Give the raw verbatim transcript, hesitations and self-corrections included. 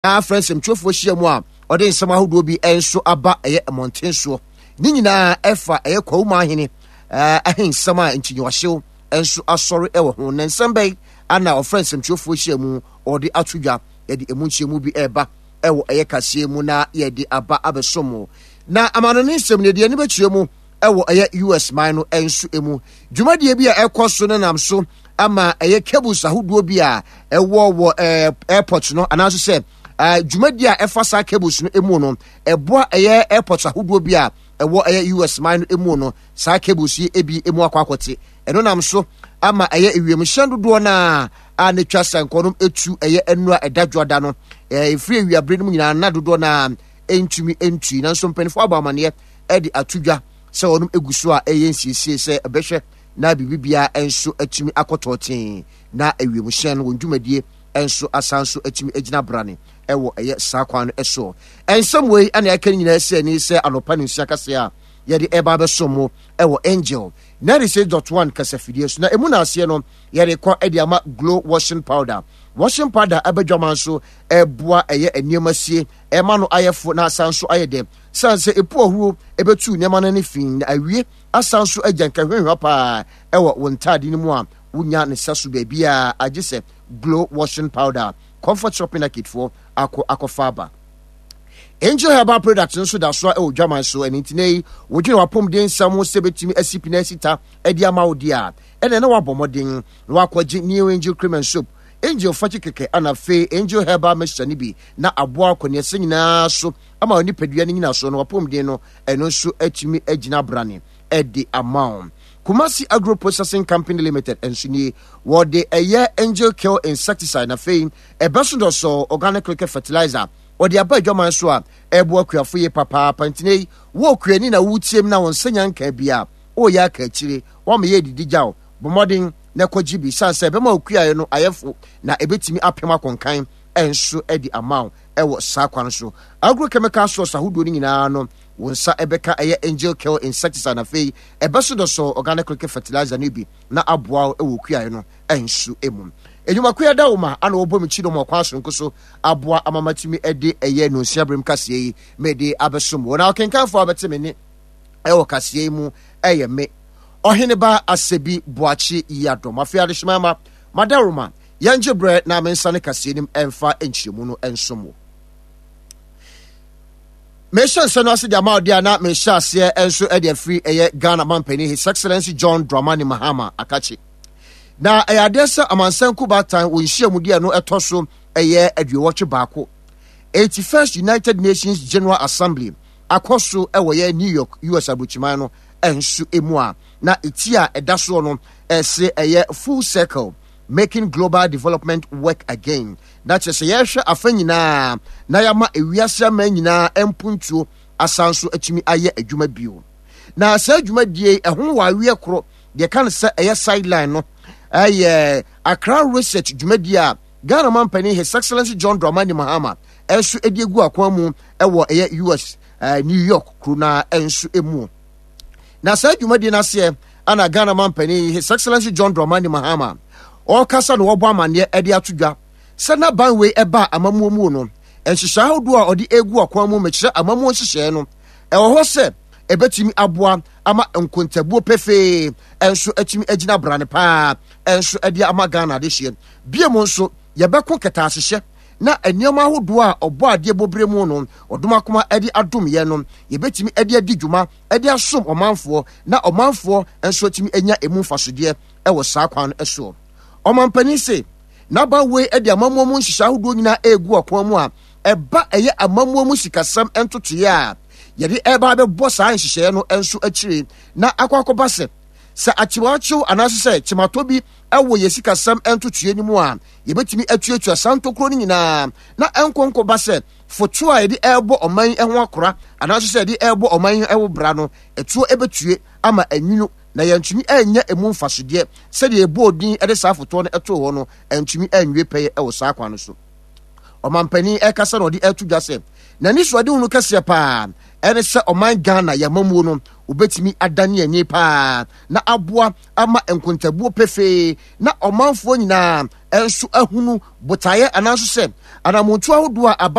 Afrɛ nsɛmtwerɛfoɔ hyia mu a ɔde nsɛm ahodoɔ bi nso aba ɛyɛ mmɔnten soɔ. Ne nyinaa ɛfa ɛyɛ Kwawuma ahene ahensɛm a nkyinyiwahyew nso asɔre ɛwɔ ho. Na nsɛm bɛyi ana ɔfrɛ nsɛmtwerɛfoɔ hyia mu ɔde ato dwa? Yɛde emu nkyɛmu bi ɛreba ɛwɔ ɛyɛ kaseɛ mu na yɛde aba abɛso mu. Na amanone nsɛm no deɛ ani bɛkyerɛ mu ɛwɔ ɛyɛ U S man no nso mu, dwumadie bi a ɛkɔ so no nam so ama ɛyɛ cables ahodoɔ bi a ɛwɔ wɔ ɛɛ airport no, anaasɛ sɛ ɛɛ dwumadie a ɛfa saa cables no mu no ɛboa ɛyɛ airport ahodoɔ bi a ɛwɔ ɛyɛ U S man no mu no, saa cables yi ebi emu akɔ akɔte. Ɛno nam so ama ɛyɛ ewiemhyɛn dodoɔ naa a ne twa sankɔ no etu ɛyɛ nnura ɛda dwoada no ɛɛ efiri ewiabere no mu nyinaa na dodoɔ naa ntumi ntui. Nanso mpanimfoɔ abɔ amaneɛ ɛde ato dwa sɛ wɔn egu so a ɛyɛ nsiesie sɛ ɛbɛhwɛ na biribiara nso atumi akɔtɔ tee na ewiemhyɛn no wɔn dwumadie nso asan so atumi agyina brane ɛwɔ ɛyɛ saa kwan no ɛsoɔ. Nsɛm wei ɛna ɛka nyinaa sɛ ani sɛ anɔpa ne nsia kaseɛ a yɛde ɛba abɛso mo ɛwɔ Angel ninety-six point one kasafidie so. Na emu na aseɛ no yɛde kɔ ɛde ama Glow washing powder. Washing powder ɛbɛdwama nso ɛboa ɛyɛ nneɛma sie, ɛma no ayɛ fo na asan so ayɛ dɛ, san sɛ epu ɔhoro ɛbɛtu nneɛma no ani fi na awie asan so agya nkahwehwɛ paa ɛwɔ wɔn ntaade no mu a wonya ne sa so baabiara agye sɛ Glow washing powder. Comfort Shopping Arcade foɔ akɔ akɔfa aba. Angel Herbal Products nso da so a ɛwɔ dwaman so. Ɛno nti na yi wodwene wapɔmuden nsɛm ho sɛ bɛtumi asi pina asita ɛde ama wo deɛ a, ɛna ɛna wabɔ mmɔden na wakɔgye New Angel Cream and Soap, Angel Fakyi kɛkɛ, ana afei Angel Herbal Mixture no bi na aboa akɔneɛsɛ nyinaa so ama wo nipadua no nyina so no wapɔmuden no ɛno nso atumi agyina brane ɛde ama wo. Kumasi Agro Processing Company Limited nso nie, wɔde ɛyɛ Angel Kill insecticide na afei ɛbɛso dɔsɔ organic cricket fertilizer wɔde aba adwaman so a ɛboa akuafo yie papaapa. Ntina yi wo okuani na wotie mu na wɔn nsa nya nka bi a wɔreyɛ aka akyire wɔn yɛ didi gyaw, bɔ mmɔden na ɛkɔgye bi, san sɛ ɛbɛma okuaeɛ no ayɛfo na ɛbɛtumi apem akɔnkan ɛnso de ama wo ɛwɔ saa kwan so. Agrochemical source ahodoɔ no nyinaa no, wo nsa ɛbɛka ɛyɛ Angel Kill insecticide na afei ɛbɛso dɔsɔ organic cricket fertilizer no bi na aboa wo ɛwɔ okuaeɛ no ɛnso mu. Edwumakuo da wo ma ana wɔbɔ me kyi no mu ɔkwan sononko so aboa amamatumi ɛde ɛyɛ nonsia berem kaseɛ yi mede abɛsom wɔ. Na ɔkenkanfoɔ a bɛte me ne ɛwɔ kaseɛ yi mu ɛyɛ me Ɔheneba Asɛbi Boakye Yiadɔm. Afei adehyema ma madaroma yɛngye berɛ na mensa ne kaseɛ nim ɛmfa nkyerɛmu no nsom wo. Mehyɛ nsɛm no ase de ama ɔde a na mehyɛ aseɛ nso de afiri ɛyɛ Ghana mampanin His Excellency John Dramani Mahama akakye. Na ɛyɛ adeɛ sɛ amansan kubatan wɔ nhyiamudeɛ no ɛtɔ so ɛyɛ aduowɔtwe baako, eighty-first United Nations General Assembly, akɔ so ɛwɔ yɛ New York, U S aburokyiman no nso emu a na eti a ɛda soɔ no ɛsɛ ɛyɛ "Full Circle: Making Global Development Work Again". Na kyerɛ sɛ yɛrehwɛ afa nyinaa na yɛama ewiase ama nyinaa mpuntuo asan so atumi ayɛ adwuma bio. Na saa adwumadie ɛho wɔ aweɛ koro deɛ ka no sɛ ɛyɛ sideline no ɛyɛ Accra Research dwumadie a Ghana mampanin His Excellency John Dramani Mahama ɛnso de egu akwan mu ɛwɔ ɛyɛ U S uh, New York kuro na ɛnso emu. Na saa dwumadie no aseɛ ana Ghana mampanin His Excellency John Dramani Mahama ɔrekasa na wɔbɔ amanneɛ ɛde ato dwa sɛ n'aban wei ɛba amammuo mu no, nhyehyɛ ahodoɔ a ɔde egu akwan mu, mekyerɛ amammuo nhyehyɛɛ no, ɛwɔ hɔ sɛ ɛbɛtumi aboa ama nkontabuo pefee ɛnso atumi agyina brane paa ɛnso ɛde ama Ghana adehyeɛ. Bie mu nso yɛbɛko kɛtɛasehyɛ na nneɛma ahodoɔ a ɔbɔ adeɛ bɔbere mu no ɔdom akoma ɛde adom yɛn no, yɛbɛtumi ɛde adi dwuma ɛde asom ɔmanfoɔ na ɔmanfoɔ nso atumi anya emu mfasodeɛ ɛwɔ saa kwan no soɔ. Ɔmampanin se n'aban wei de amammuo mu nhyehyɛ ahodoɔ nyinaa egu ɔkwan mu a ɛba ɛyɛ amammuo mu sikasɛm ntotoeɛ a yɛde ɛba abɛbɔ saa nhyehyɛeɛ no nso akyire na akɔ akɔba sɛ sɛ akyewakyew anaasɛ sɛ kyematɔ bi ɛwɔ yɛ sikasɛm ntotoeɛ no mu a, yɛbɛtumi atuatua saa ntokuro no nyinaa na ɛnkɔnkɔba sɛ foto a yɛde ɛrebɔ ɔman yi ho akora anaasɛ sɛ yɛde ɛrebɔ ɔman yi ho bra no ɛtoɔ ɛbɛtue ama anwunu na yɛntumi anya emu mfasodeɛ sɛdeɛ ɛbɔɔ din de saa fotoɔ no ɛtoo hɔ no ɛntumi anwie pɛyɛ ɛwɔ saa kwan no so. Ɔmampanin ɛkasa na ɔde ɛto dwa sɛ n'ani so ade hunu kɛseɛ paa ɛne sɛ ɔman Ghana yɛmamuo no wobɛtumi adane ani paa na aboa ama nkontabuo pefee na ɔmanfoɔ nyinaa nso ahunu botaeɛ anaaso sɛ anamontu ahodoɔ a aba.